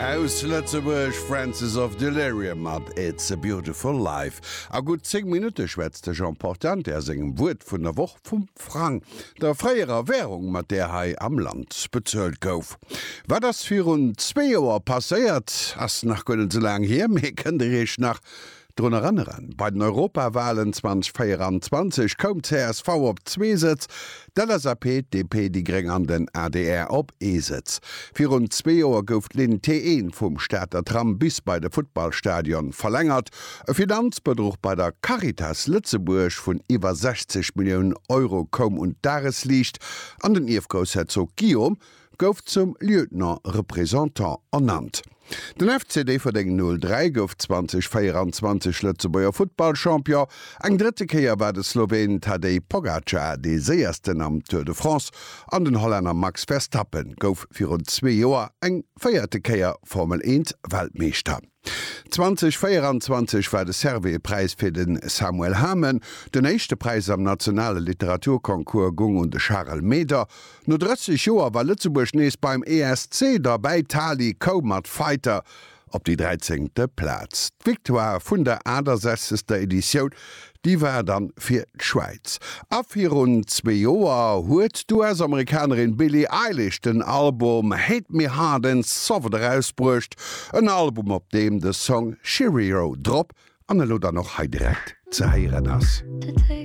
Aus Lëtzebuerg, Francis of Delirium mat It's a Beautiful Life. A gutt 10 Minutte schwätzt de Jean Portante a sengem Wuert vun der Woch vum Frang, der fréierer Wärung, mat där hei am Land bezuelt gouf. Wat ass virun zwee Joer passéiert? Ass nach guer net esou laang hier, mee kënnt Dir Iech nach Drun erënneren, Bei den Europawalen 2024 koum csv op zwee Sëtz, d'LSAP, d'DP, déi Gréng an den adr op ee Sëtz. Virun zwee Joer gouf d'Linn T1 vum Stater Tram bis bei de Futtballstadion verlängert. E Finanzbedruch bei der Caritas Lëtzebuerg vun iwwer 60 Milliounen Euro koum un d'Dagesliicht an den Ierfgroussherzog Guillaume gouf zum Lieutenant Représentant ernannt. Den FC Déifferdeng 03 gouf 2024 Lëtzebuerger Futtballchampion. Eng drëtte Kéier war de Sloween Tadej Pogacar dee séiersten am Tour de France an den Hollänner Max Verstappen gouf virun zwee Joer eng véierte Kéier Formel 1 Weltmeeschter. 2024 war de Servais-Präis fir de Samuel Hamen. Den éischte Präis am nationale Literaturconcours gung un de Charel Meder. No 30 Joer war Lëtzebuerg nees beim ESC derbäi. D'Tali koum mat Fighter op déi dräizéngte Plaz. D'Victoire vun der 68. Editioun Déi war dann fir d'Schwäiz. A virun zwee Joer huet d'US-Amerikanerin Billie Eilish den Album Hate Me Hard and Soft erausbruecht. En Album op deem de Song Cheerio drop an elo dann och hei direkt ze héieren ass.